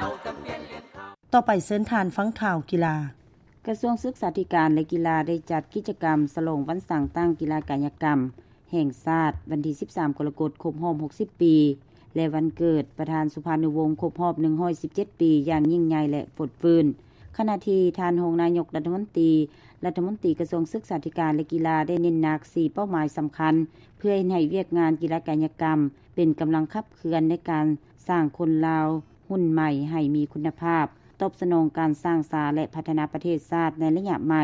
ຕໍ່ໄປເຊີນທ່ານຟັງຂ່າວກິລາ. ກະຊວງສຶກສາທິການ ແລະ ກິລາ ໄດ້ຈັດກິດຈະກຳສະຫຼອງວັນສ້າງຕັ້ງກິລາກາຍະກຳແຫ່ງຊາດ ວັນທີສິບສາມ ກໍລະກົດ ຄົບຮອບ ຫົກສິບ ປີ ແລະ ວັນເກີດປະທານສຸພານຸວົງ ຄົບຮອບ ໜຶ່ງຮ້ອຍສິບເຈັດ ປີ ຢ່າງຍິ່ງໃຫຍ່ ແລະ ຟົດຟື້ນ. ຂະນະທີ່ທ່ານຮອງນາຍົກລັດຖະມົນຕີ ລັດຖະມົນຕີກະຊວງສຶກສາທິການ ແລະ ກິລາ ໄດ້ເນັ້ນໜັກ ສີ່ ເປົ້າໝາຍສຳຄັນ ເພື່ອເຮັດໃຫ້ວຽກງານກິລາກາຍະກຳ ເປັນກຳລັງຂັບເຄື່ອນໃນການສ້າງຄົນລາວຮຸ່ນໃໝ່ໃຫ້ມີຄຸນນະພາບ, ຕອບສະໜອງການສ້າງສາ ແລະ ພັດທະນາປະເທດຊາດໃນໄລຍະໃໝ່.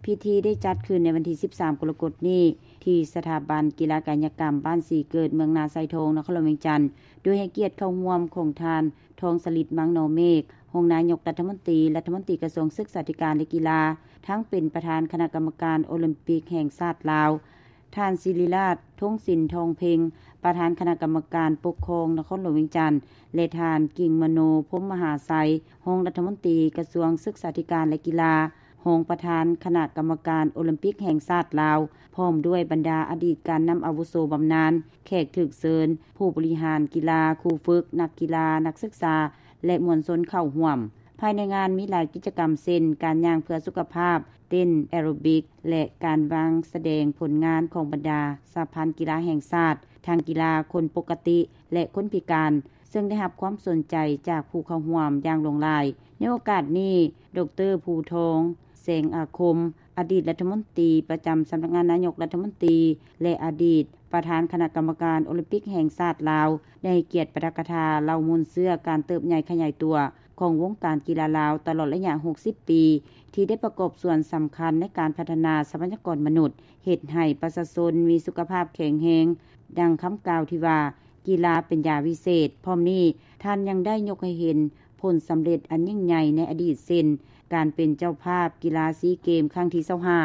ພິທີໄດ້ຈັດຂຶ້ນໃນວັນທີສິບສາມ ກໍລະກົດນີ້ ທີ່ສະຖາບັນກິລາກາຍະກຳບ້ານສີເກີດ ເມືອງນາຊາຍທອງ ນະຄອນຫຼວງວຽງຈັນ, ໂດຍໃຫ້ກຽດເຂົ້າຮ່ວມຂອງທ່ານ ທອງສະລິດ ມັງນໍເມກ ຮອງນາຍົກລັດຖະມົນຕີ, ລັດຖະມົນຕີກະຊວງສຶກສາທິການ ແລະ ກິລາ, ທັງເປັນປະທານຄະນະກຳມະການໂອລິມປິກແຫ່ງຊາດລາວ, ທ່ານ ສິລິລາດ ທົງສິນທອງເພັງ ປະທານຄະນະກຳມະການປົກຄອງນະຄອນຫຼວງວຽງຈັນ ແລະ ທ່ານ ກິ່ງມະໂນ ພົມມະຫາໄຊ ຮອງລັດຖະມົນຕີກະຊວງສຶກສາທິການ ແລະ ກິລາ, ຮອງປະທານຄະນະກຳມະການໂອລິມປິກແຫ່ງຊາດລາວ, ພ້ອມດ້ວຍບັນດາອະດີດການນຳອາວຸໂສບຳນານ, ແຂກຖືກເຊີນ, ຜູ້ບໍລິຫານກິລາ, ຄູຝຶກ, ນັກກິລາ, ນັກສຶກສາ ແລະ ມວນຊົນເຂົ້າຮ່ວມ. ພາຍໃນງານມີຫຼາຍກິດຈະກຳ ເຊັ່ນ ການຍ່າງເພື່ອສຸຂະພາບ, ເຕັ້ນແອໂຣບິກ ແລະ ການວາງສະແດງຜົນງານຂອງບັນດາສະຫະພັນກິລາແຫ່ງຊາດ, ທັງກິລາຄົນປົກກະຕິ ແລະ ຄົນພິການ, ເຊິ່ງໄດ້ຮັບຄວາມສົນໃຈຈາກຜູ້ເຂົ້າຮ່ວມຢ່າງຫຼວງຫຼາຍ. ໃນໂອກາດນີ້, ດອກເຕີ ພູທອງ ແສງອາຄົມ, ອະດີດລັດຖະມົນຕີປະຈຳສຳນັກງານນາຍົກລັດຖະມົນຕີ ແລະ ອະດີດປະທານຄະນະກຳມະການໂອລິມປິກແຫ່ງຊາດລາວ ໄດ້ໃຫ້ກຽດປາຖະກະຖາເລົ່າມູນເຊື້ອການເຕີບໃຫຍ່ຂະຫຍາຍຕົວຂອງວົງການກິລາລາວຕະຫຼອດໄລຍະຫົກສິບປີ ທີ່ໄດ້ປະກອບສ່ວນສຳຄັນໃນການພັດທະນາຊັບພະຍາກອນມະນຸດ, ເຮັດໃຫ້ປະຊາຊົນມີສຸຂະພາບແຂງແຮງ, ດັ່ງຄຳກ່າວທີ່ວ່າ ກິລາເປັນຢາວິເສດ. ພ້ອມນີ້, ທ່ານຍັງໄດ້ຍົກໃຫ້ເຫັນຜົນສຳເລັດອັນຍິ່ງໃຫຍ່ໃນອະດີດ ເຊັ່ນ ການເປັນເຈົ້າພາບກິລາຊີເກມຄັ້ງທີຊາວຫ້າ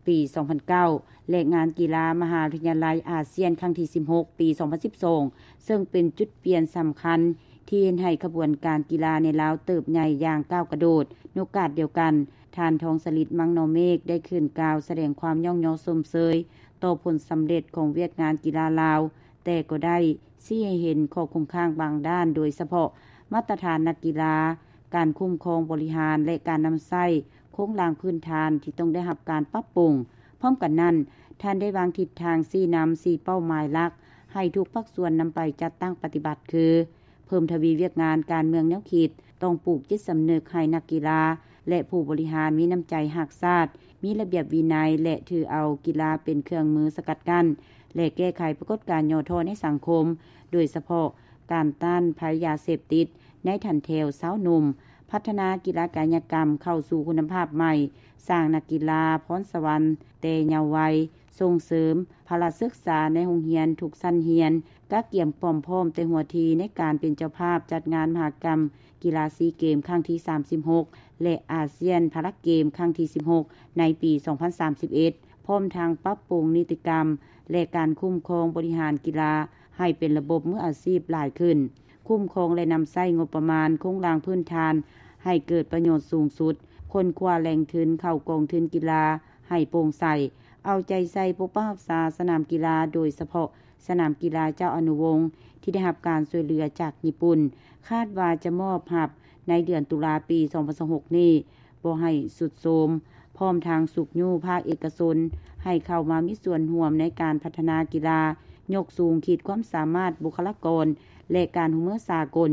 ປີສອງພັນເກົ້າ ແລະ ງານກິລາມະຫາວິທະຍາໄລອາຊຽນຄັ້ງທີສິບຫົກ ປີສອງພັນສິບສອງ ເຊິ່ງເປັນຈຸດປ່ຽນສຳຄັນທີ່ເຮັດໃຫ້ຂະບວນການກິລາໃນລາວເຕີບໃຫຍ່ຢ່າງກ້າວກະໂດດ. ໃນໂອກາດດຽວກັນ, ທ່ານ ທອງສະລິດ ມັງນໍເມກ ໄດ້ຂຶ້ນກ່າວສະແດງຄວາມຍ້ອງຍໍຊົມເຊີຍຕໍ່ຜົນສຳເລັດຂອງວຽກງານກິລາລາວ, ແຕ່ກໍໄດ້ຊີ້ໃຫ້ເຫັນຂໍ້ຄົງຄ້າງບາງດ້ານ, ໂດຍສະເພາະມາດຕະຖານນັກກິລາ, ການຄຸ້ມຄອງບໍລິຫານ ແລະ ການນຳໃຊ້ໂຄງລ່າງພື້ນຖານທີ່ຕ້ອງໄດ້ຮັບການປັບປຸງ. ພ້ອມກັນນັ້ນ, ທ່ານໄດ້ວາງທິດທາງຊີ້ນຳສີ່ເປົ້າໝາຍຫຼັກໃຫ້ທຸກພາກສ່ວນນຳໄປຈັດຕັ້ງປະຕິບັດ ຄື ເພີ່ມທະວີວຽກງານການເມືອງແນວຄິດ, ຕ້ອງປູກຈິດສຳນຶກໃຫ້ນັກກິລາ ແລະ ຜູ້ບໍລິຫານມີນ້ຳໃຈຮັກຊາດ, ມີລະບຽບວິໄນ ແລະ ຖືເອົາກິລາເປັນເຄື່ອງມືສະກັດກັ້ນ ແລະ ແກ້ໄຂປາກົດການຫຍໍ້ທໍ້ໃນສັງຄົມ, ໂດຍສະເພາະການຕ້ານໄພຢາເສບຕິດໃນຖັນແຖວຊາວໜຸ່ມ, ພັດທະນາກິລາກາຍະກຳເຂົ້າສູ່ຄຸນນະພາບໃໝ່, ສ້າງນັກກິລາພອນສະຫວັນແຕ່ເຍົາໄວ, ສົ່ງເສີມພະລະສຶກສາໃນໂຮງຮຽນທຸກຊັ້ນຮຽນ, ກະກຽມຄວາມພ້ອມແຕ່ຫົວທີໃນການເປັນເຈົ້າພາບຈັດງານມະຫະກຳກິລາຊີເກມຄັ້ງທີສາມສິບຫົກ ແລະ ອາຊຽນພາລາເກມຄັ້ງທີສິບຫົກ ໃນປີສອງພັນສາມສິບເອັດ ພ້ອມທັງປັບປຸງນິຕິກຳ ແລະ ການຄຸ້ມຄອງບໍລິຫານກິລາໃຫ້ເປັນລະບົບມືອາຊີບຫຼາຍຂຶ້ນ, ຄຸ້ມຄອງ ແລະ ນຳໃຊ້ງົບປະມານໂຄງລ່າງພື້ນຖານໃຫ້ເກີດປະໂຫຍດສູງສຸດ, ຄົ້ນຄວ້າແຫຼ່ງທຶນເຂົ້າກອງທຶນກິລາໃຫ້ໂປ່ງໃສ, ເອົາໃຈໃສ່ປົກປັກຮັກສາສະໜາມກິລາ, ໂດຍສະເພາະ ສະໜາມກິລາເຈົ້າອະນຸວົງທີ່ໄດ້ຮັບການຊ່ວຍເຫຼືອຈາກຍີ່ປຸ່ນ, ຄາດວ່າຈະມອບຮັບໃນເດືອນຕຸລາປີສອງພັນຊາວຫົກນີ້ບໍ່ໃຫ້ຊຸດໂຊມ, ພ້ອມທັງຊຸກຍູ້ພາກເອກະຊົນໃຫ້ເຂົ້າມາມີສ່ວນຮ່ວມໃນການພັດທະນາກິລາ, ຍົກສູງຂີດຄວາມສາມາດບຸກຄະລາກອນ ແລະ ການຮ່ວມມືສາກົນ,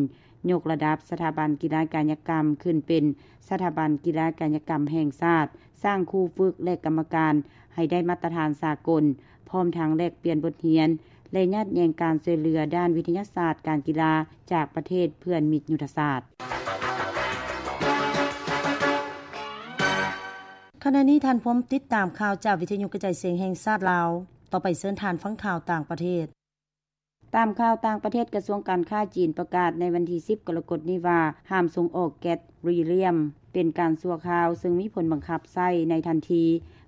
ຍົກລະດັບສະຖາບັນກິລາກາຍະກຳຂຶ້ນເປັນສະຖາບັນກິລາກາຍະກຳແຫ່ງຊາດ, ສ້າງຄູຝຶກ ແລະ ກຳມະການໃຫ້ໄດ້ມາດຕະຖານສາກົນ, ພ້ອມທັງແລກປ່ຽນບົດຮຽນ ແລະ ຍາດແຍ່ງການຊ່ວຍເຫຼືອດ້ານວິທະຍາສາດການກິລາຈາກປະເທດເພື່ອນມິດຍຸດທະສາດ. ຂະນະນີ້ທ່ານພົມຕິດຕາມຂ່າວຈາກວິທະຍຸກະຈາຍສຽງແຫ່ງຊາດລາວ. ຕໍ່ໄປເຊີນທ່ານຟັງຂ່າວຕ່າງປະເທດ. ຕາມຂ່າວຕ່າງປະເທດ, ກະຊວງການຄ້າຈີນປະກາດໃນວັນທີສິບ ກໍລະກົດນີ້ວ່າ ຫ້າມສົ່ງອອກແກັສຣີລຽມເປັນການຊົ່ວຄາວ, ເຊິ່ງມີຜົນບັງຄັບໃຊ້ໃນທັນທີ.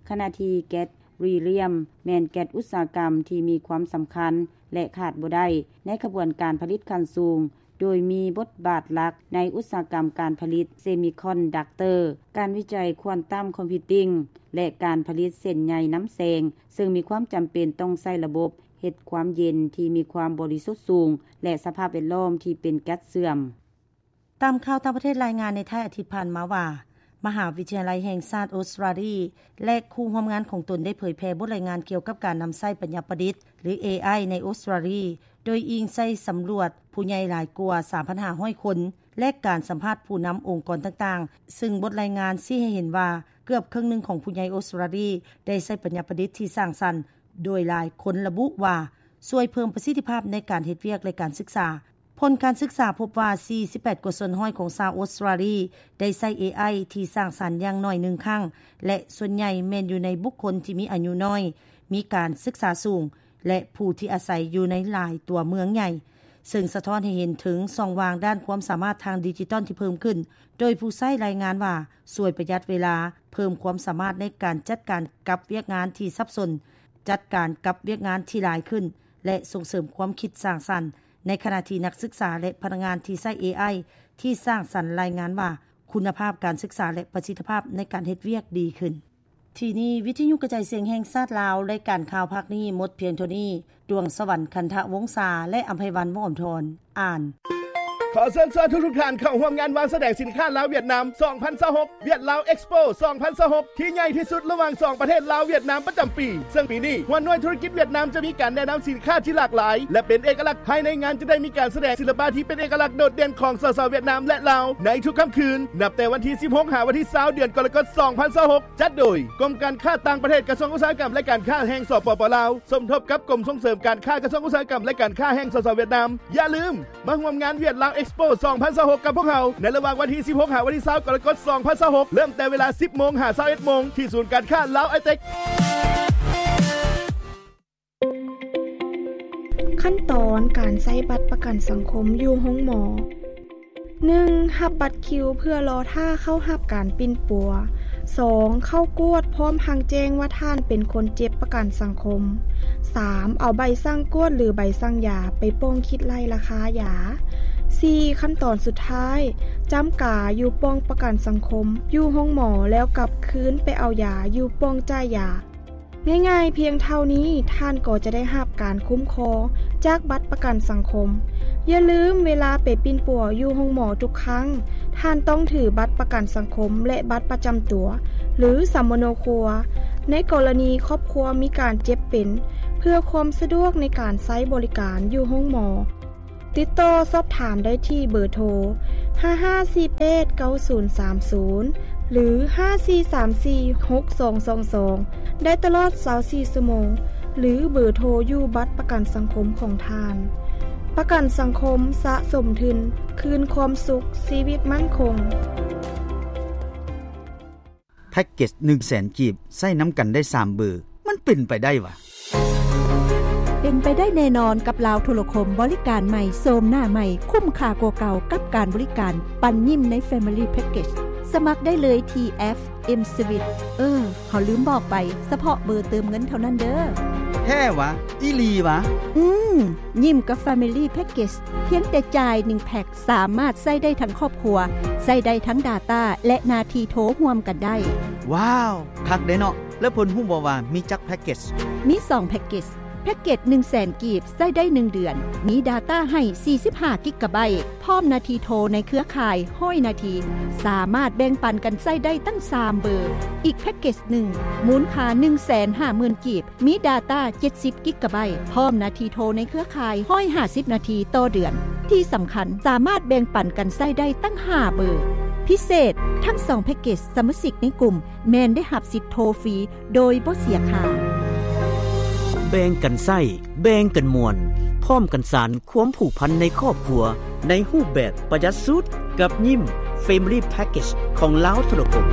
ຂະນະທີ່ແກັສຣີລຽມແມ່ນແກັສອຸດສາຫະກຳທີ່ມີຄວາມສຳຄັນ ແລະ ຂາດບໍ່ໄດ້ໃນຂະບວນການຜະລິດຂັ້ນສູງ, ໂດຍມີບົດບາດຫຼັກໃນອຸດສາຫະກຳການຜະລິດເຊມິຄອນດັກເຕີ, ການວິໄຈຄວອນຕັມຄອມພິວຕິງ ແລະ ການຜະລິດເສັ້ນໃຍນຳແສງ, ເຊິ່ງມີຄວາມຈຳເປັນຕ້ອງໃຊ້ລະບົບ ເຮັດຄວາມເຢັນທີ່ມີຄວາມບໍລິສຸດສູງ ແລະ ສະພາບແວດລ້ອມທີ່ເປັນແກັສເຊື່ອມ. ຕາມຂ່າວຕ່າງປະເທດລາຍງານໃນທ້າຍອາທິດຜ່ານມາວ່າ ມະຫາວິທະຍາໄລແຫ່ງຊາດອົດສະຕຣາລີ ແລະ ຄູ່ຮ່ວມງານຂອງຕົນໄດ້ເຜີຍແຜ່ບົດລາຍງານກ່ຽວກັບການນຳໃຊ້ປັນຍາປະດິດ ຫຼື ເອໄອ ໃນອົດສະຕຣາລີ ໂດຍອີງໃສ່ສຳຫຼວດຜູ້ໃຫຍ່ຫຼາຍກວ່າ ສາມພັນຫ້າຮ້ອຍຄົນ ແລະ ການສຳພາດຜູ້ນຳອົງກອນຕ່າງໆ, ເຊິ່ງບົດລາຍງານຊີ້ໃຫ້ເຫັນວ່າ ເກືອບເຄິ່ງໜຶ່ງຂອງຜູ້ໃຫຍ່ອົດສະຕຣາລີ ໄດ້ໃຊ້ປັນຍາປະດິດທີ່ສ້າງສັນ, ໂດຍຫຼາຍຄົນລະບຸວ່າ ຊ່ວຍເພີ່ມປະສິດທິພາບໃນການເຮັດວຽກ ແລະ ການສຶກສາ. ຜົນການສຶກສາພົບວ່າ ສີ່ສິບແປດກວ່າສ່ວນຮ້ອຍຂອງຊາວອົດສະຕຣາລີ ໄດ້ໃຊ້ ເອໄອ ທີ່ສ້າງສັນຢ່າງໜ້ອຍໜຶ່ງຄັ້ງ ແລະ ສ່ວນໃຫຍ່ແມ່ນຢູ່ໃນບຸກຄົນທີ່ມີອາຍຸນ້ອຍ, ມີການສຶກສາສູງ ແລະ ຜູ້ທີ່ອາໄສຢູ່ໃນຫຼາຍຕົວເມືອງໃຫຍ່, ເຊິ່ງສະທ້ອນໃຫ້ເຫັນເຖິງຊ່ອງວ່າງດ້ານຄວາມສາມາດທາງດິຈິຕອນທີ່ເພີ່ມຂຶ້ນ, ໂດຍຜູ້ໃຊ້ລາຍງານວ່າ ຊ່ວຍປະຢັດເວລາ, ເພີ່ມຄວາມສາມາດໃນການຈັດການກັບວຽກງານທີ່ສັບສົນ, ຈັດການກັບວຽກງານທີ່ຫຼາຍຂຶ້ນ ແລະ ສົ່ງເສີມຄວາມຄິດສ້າງສັນ, ໃນຂະນະທີ່ນັກສຶກສາ ແລະ ພະນັກງານທີ່ໃຊ້ ເອໄອ ທີ່ສ້າງສັນລາຍງານວ່າ ຄຸນນະພາບການສຶກສາ ແລະ ປະສິດທິພາບໃນການເຮັດວຽກດີຂຶ້ນ. ທີ່ນີ້ ວິທະຍຸກະຈາຍສຽງແຫ່ງຊາດລາວ, ລາຍການຂ່າວພາກນີ້ໝົດພຽງເທົ່ານີ້. ດວງສະຫວັນ ຄັນທະວົງສາ ແລະ ອຳໄພວັນ ວົງອຳທອນ ອ່ານ. ຂໍເຊີນຊວນທຸກໆທ່ານເຂົ້າຮ່ວມງານວາງສະແດງສິນຄ້າລາວ-ຫວຽດນາມ ສອງພັນຊາວຫົກ ຫວຽດລາວເອັກສະໂປ ສອງພັນຊາວຫົກ ທີ່ໃຫຍ່ທີ່ສຸດລະຫວ່າງສອງປະເທດລາວ-ຫວຽດນາມປະຈຳປີ, ເຊິ່ງປີນີ້ຫົວໜ່ວຍທຸລະກິດຫວຽດນາມຈະມີການແນະນຳສິນຄ້າທີ່ຫຼາກຫຼາຍ ແລະ ເປັນເອກະລັກ. ພາຍໃນງານຈະໄດ້ມີການສະແດງສິລະປະທີ່ເປັນເອກະລັກໂດດເດັ່ນຂອງ ສສ ຫວຽດນາມ ແລະ ລາວ ໃນທຸກຄ່ຳຄືນ ນັບແຕ່ວັນທີສິບຫົກ ຫາວັນທີຊາວ ເດືອນກໍລະກົດ ສອງພັນຊາວຫົກ ຈັດໂດຍ ກົມການຄ້າຕ່າງປະເທດ ກະຊວງອຸດສາຫະກຳ ແລະ ການຄ້າແຫ່ງ ສປປ ລາວ ສົມທົບກັບກົມສົ່ງເສີມການຄ້າ ກະຊວງອຸດສາຫະກຳ ແລະ ການຄ້າແຫ່ງ ສສ ຫວຽດນາມ. ຢ່າລືມມາຮ່ວມງານຫວຽດລາວເອັກສະໂປ ສອງພັນຊາວຫົກ ກັບພວກເຮົາ ໃນລະຫວ່າງວັນທີສິບຫົກ ຫາວັນທີຊາວ ກໍລະກົດ ສອງພັນຊາວຫົກ ເລີ່ມແຕ່ເວລາ ສິບໂມງ ຫາ ຊາວເອັດໂມງ ທີ່ສູນການຄ້າລາວໄອເຕັກ. ຂັ້ນຕອນການໃຊ້ບັດປະກັນສັງຄົມຢູ່ໂຮງໝໍ. ໜຶ່ງ ຮັບບັດຄິວເພື່ອລໍຖ້າເຂົ້າຮັບການປິ່ນປົວ. ສອງ ເຂົ້າກວດພ້ອມທັງແຈ້ງວ່າທ່ານເປັນຄົນເຈັບປະກັນສັງຄົມ. ສາມ ເອົາໃບສັ່ງກວດ ຫຼື ໃບສັ່ງຢາໄປປ່ອງຄິດໄລ່ລາຄາຢາ. ສີ່ ຂັ້ນຕອນສຸດທ້າຍ ຈ້ຳກາຢູ່ປ່ອງປະກັນສັງຄົມຢູ່ໂຮງໝໍ ແລ້ວກັບຄືນໄປເອົາຢາຢູ່ປ່ອງຈ່າຍຢາ. ງ່າຍໆພຽງເທົ່ານີ້ ທ່ານກໍຈະໄດ້ຮັບການຄຸ້ມຄອງຈາກບັດປະກັນສັງຄົມ. ຢ່າລືມ, ເວລາໄປປິ່ນປົວຢູ່ໂຮງໝໍທຸກຄັ້ງ, ທ່ານຕ້ອງຖືບັດປະກັນສັງຄົມ ແລະ ບັດປະຈຳຕົວ ຫຼື ສຳມະໂນຄົວ ໃນກໍລະນີຄອບຄົວມີການເຈັບເປັນ, ເພື່ອຄວາມສະດວກໃນການໃຊ້ບໍລິການຢູ່ໂຮງໝໍ. ຕິດຕໍ່ສອບຖາມໄດ້ທີ່ເບີໂທ ຫ້າຫ້າສີ່ແປດເກົ້າສູນສາມສູນ ຫຼື ຫ້າສີ່ສາມສີ່ຫົກສອງສອງສອງ ໄດ້ຕະຫຼອດຊາວສີ່ຊົ່ວໂມງ ຫຼື ເບີໂທຢູ່ບັດປະກັນສັງຄົມຂອງທ່ານ. ປະກັນສັງຄົມສະສົມທຶນ ຄືນຄວາມສຸກ, ຊີວິດໝັ້ນຄົງ. ແພັກເກັດໜຶ່ງແສນກີບ ໃຊ້ນຳກັນໄດ້ສາມເບີ ມັນເປັນໄປໄດ້ຫວາ? ເປັນໄປໄດ້ແນ່ນອນກັບລາວໂທລະຄົມ, ບໍລິການໃໝ່, ໂສມໜ້າໃໝ່, ຄຸ້ມຄ່າກວ່າເກົ່າກັບການບໍລິການ, ປັນຍິ້ມໃນ Family Package. ສະໝັກໄດ້ເລີຍທີ່ແອັບ M-Suite. ເອີ, ເຮົາລືມບອກໄປ, ສະເພາະເບີເຕີມເງິນເທົ່ານັ້ນເດີ້. ແທ້ຫວາ? ອີ່ຫຼີຫວາ? ອືມ, ຍິ້ມກັບ Family Package ພຽງແຕ່ຈ່າຍໜຶ່ງແພັກ ສາມາດໃຊ້ໄດ້ທັງຄອບຄົວ, ໃຊ້ໄດ້ທັງ Data ແລະ ໜ້າທີ່ໂທຮ່ວມກັນໄດ້. ວ້າວ, ຄັກເດ້ເນາະ. ແລ້ວເພິ່ນຮູ້ບໍ່ວ່າມີຈັກແພັກເກັດ? ມີສອງແພັກເກັດ. ແພັກເກັດໜຶ່ງແສນກີບ ໃຊ້ໄດ້ໜຶ່ງເດືອນ, ມີ Data ໃຫ້ສີ່ສິບຫ້າກິກກາໄບ, ພ້ອມໜ້າທີ່ໂທໃນເຄືອຂ່າຍຮ້ອຍນາທີ, ສາມາດແບ່ງປັນກັນໃຊ້ໄດ້ຕັ້ງສາມເບີ. ອີກແພັກເກັດໜຶ່ງ ມູນຄ່າໜຶ່ງແສນຫ້າໝື່ນກີບ, ມີ Data ເຈັດສິບກິກກາໄບ, ພ້ອມໜ້າທີ່ໂທໃນເຄືອຂ່າຍຮ້ອຍຫ້າສິບນາທີຕໍ່ເດືອນ. ທີ່ສຳຄັນ, ສາມາດແບ່ງປັນກັນໃຊ້ໄດ້ຕັ້ງຫ້າເບີ. ພິເສດ, ທັງສອງແພັກເກັດ, ສະມາຊິກໃນກຸ່ມແມ່ນໄດ້ຮັບສິດໂທຟຣີໂດຍບໍ່ເສຍຄ່າ. ແບ່ງກັນໃຊ້, ແບ່ງກັນມ່ວນ, ພ້ອມກັນສານຄວາມຜູກພັນໃນຄອບຄົວ ໃນຮູບແບບປະຢັດສຸດ ກັບຍິ້ມ Family Package ຂອງລາວໂທລະຄົມ.